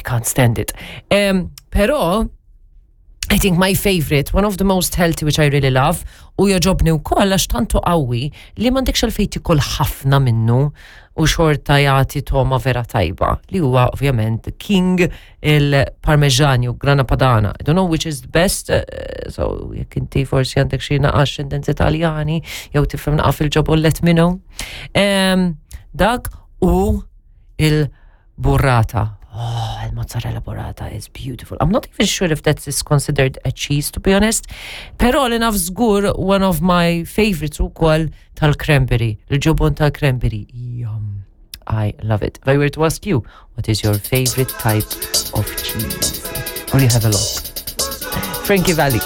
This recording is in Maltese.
can't stand it. Um, però, I think my favorite, one of the most healthy which I really love, u jogħġobni wkoll għax tantu qawwi li m'għandekx għalfejn tikol ħafna minnu u xorta jagħti toma vera tajba li huwa ovvjament King il-Parmeġan jew Grana Padana. I don't know which is the best, eh, so jekk inti forsi għandek xi naqa ascendenzi Taljani jew tifhem naqa fil-ġobon let me know. Dak u il- Burrata. Oh, il-mozzarella burrata is beautiful. I'm not even sure if that is considered a cheese, to be honest. Pero li naf żgur one of my favorites ukoll tal-cranberry, il-ġobon tal-cranberry. Yum. I love it. If I were to ask you, what is your favorite type of cheese? Or you have a lot. Frankie Valli.